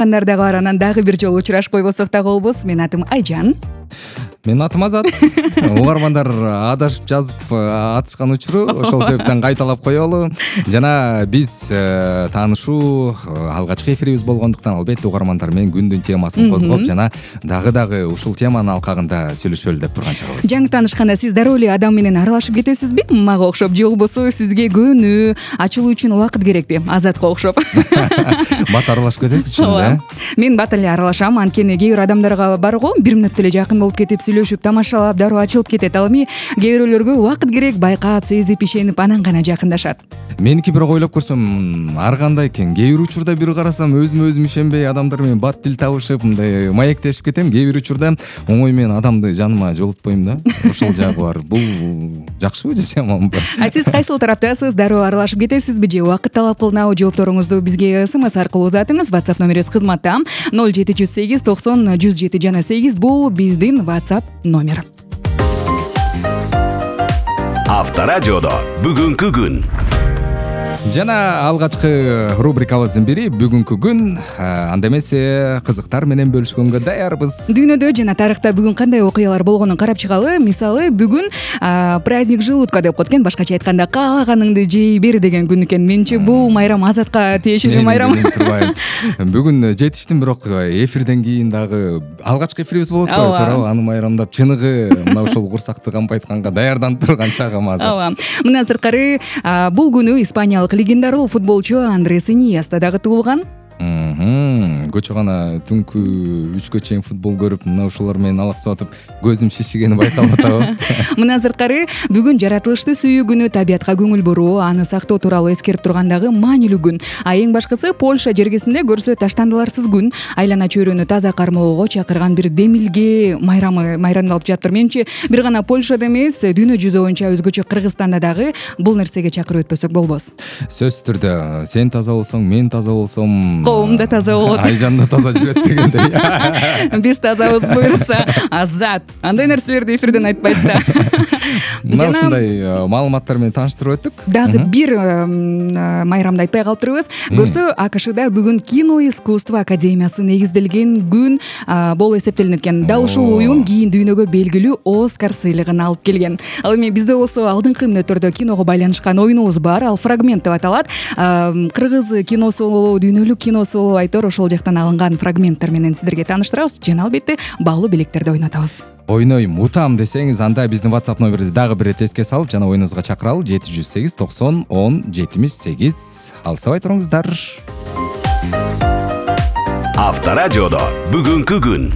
Дагы аранан дагы бир жолу учурашпай болсок дагы болбос. Менин атым Айжан. Менин атым Азат. Угармандар адашып жазып атышкан учуру, ошол себептен кайталап коелу. Жана биз таанышуу алгачкы эфирибиз болгондуктан албетте угармандар менен күндүн темасын козгоп жана дагы ушул теманын алкагында сүйлөшөлү деп турган чагыбыз. Жаңы таанышканда сиз дароо эле адам менен аралашып кетесизби? Мага окшоп же болбосо сизге көөнү, ачылуу үчүн убакыт керекпи? Азатка окшоп. Бат аралашып кетесиз чын да? Мен бат эле аралашам, анткени кээ бир адамдарга бар го, бир мүнөттө эле жакын болуп кетип сүйлөшүп, тамашалап, дароо ачылып кетет. Ал эми кээ бирөөлөргө убакыт керек, байкап, сезип, ишенип, анан гана жакындашат. Меники бирок ойлоп көрсөм, ар кандай экен. Кээ бир учурда бир карасам өзүм ишенбей адамдар менен бат тил табышып, мындай маектешип кетем. Кээ бир учурда оңой менен адамды жаныма жолутпойм да. Ошол жагы бар. Бул жакшыбы же жаманбы? Сиз кайсыл тараптасыз? Дароо аралашып кетесизби же убакыт талап кылынабы? Жоопторуңузду бизге СМС аркылуу узатыңыз. WhatsApp номерибиз кызматта 0708 90 107 жана 8. Бул биздин WhatsApp номер. Авторадиодо бүгүнкү күн. Жана алгачкы рубрикабыздын бири бүгүнкү күн. Анда эмесе кызыктар менен бөлүшкөнгө даярбыз. Дүйнөдө жана тарыхта бүгүн кандай окуялар болгонун карап чыгалы. Мисалы, бүгүн праздник желудка деп коет экен. Башкача айтканда кааганыңды жей бер деген күн экен. Менче бул майрам Азатка тиешелүү майрам. Бүгүн жетиштим, бирок эфирден кийин дагы алгачкы эфирибиз болот го, туурабы? Аны майрамдап чыныгы мына ушул курсакты кампайтканга даярданып турган чагым азыр. Ооба. Мындан сырткары бул күнү испаниялык легендаруу футболчу Андрес Иньеста дагы туулган. Көчө гана түнкү 3кө чейин футбол көрүп, мына ушулар менен алаксып атып, көзүм шишигени байкалып атабы. Мындан сырткары бүгүн жаратылышты сүйүү күнү, табиятка көңүл буруу, аны сактоо тууралуу эскерип тургандагы маанилүү күн. Эң башкысы Польша жергесинде көрсө таштандыларсыз күн, айлана чөйрөнү таза кармоого чакырган бир демилге майрамдалып жатыр. Менимче бир гана Польшада эмес, дүйнө жүзү боюнча өзгөчө Кыргызстанда дагы бул нерсеге чакырып өтпөсөк болбос. Сөзсүз түрдө сен таза болсоң, мен таза болсом, коом да таза болот. Айжан да таза жүрөт дегендей. Биз тазабыз буюрса, Азат андай нерселерди эфирден айтпайт да. Мына ушундай маалыматтар менен тааныштырып өттүк. Дагы бир майрамды айтпай калыптырбыз. Көрсө, АКШда бүгүн кино искусство академиясы негизделген күн болуп эсептелинет экен. Дал ушул уюм кийин дүйнөгө белгилүү Оскар сыйлыгын алып келген. Ал эми бизде болсо алдыңкы мүнөттөрдө киного байланышкан оюнубуз бар. Ал фрагмент деп аталат. Кыргыз киносу болобу, дүйнөлүк киносу болобу, айтор ошол жактан алынган фрагменттер менен сиздерге тааныштырабыз. Жана албетте баалуу билектерди ойнотобуз. Ойнойм, утам десеңиз, анда биздин WhatsApp номерибизди дагы бир рет эске салып, жана оюнубузга чакыралы 708 90 10 78. Алыстабай туруңуздар. Авторадиодо бүгүнкү күн.